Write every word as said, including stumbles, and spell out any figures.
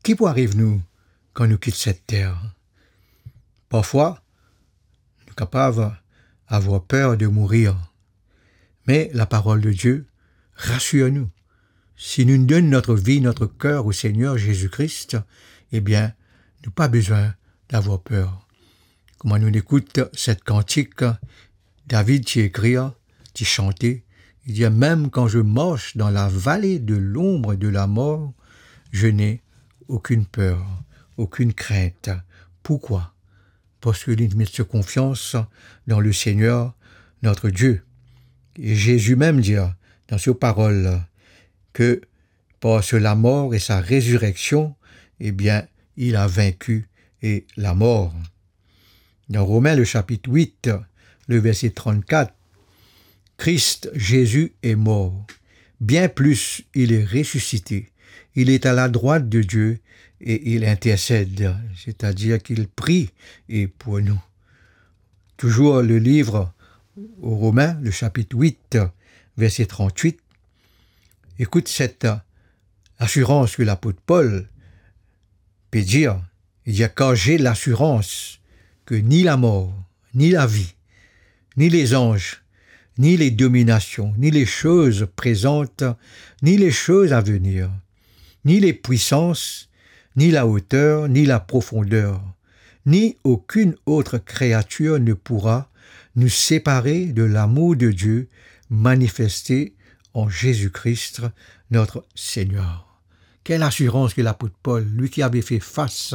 Ki pou ariv nou kan nou kit set ter? Parfwa, nou kapav avoir per de mourir. Me laparol de Die rasir nou. Si nou donn notre vie, notre cœur au Seigneur Jésus-Christ, ebien, nou pa bizin avoir per. Kouma nou ekout set kantik, David ti ekrir, ti sante, li dir, mem kan je marche dans la vallée de l'ombre de la mort, je n'ai aucune peur, aucune crainte. Pourquoi? Parski li met so konfians dan le Seigneur, notre Dieu. E Zezi mem dir dan so parol ke par so lamor e sa rezireksion, ebien, il a vaincu e lamor. Dan Romin, le sapit wit, le verse trannkat, Christ Jésus est mort. Bien plus, il est ressuscité. Il est à la droite de Dieu et il intercède, c'est-à-dire qu'il prie et pour nous. Toujours le livre aux Romains, le chapitre huit, verset trente-huit. Écoute cette assurance que l'apôtre Paul peut dire. Il dit, car j'ai l'assurance que ni la mort, ni la vie, ni les anges, ni les dominations, ni les choses présentes, ni les choses à venir, ni les puissances, ni la hauteur, ni la profondeur, ni aucune autre créature ne pourra nous séparer de l'amour de Dieu manifesté en Jésus-Christ, notre Seigneur. Quelle assurance que l'apôtre Paul, lui qui avait fait face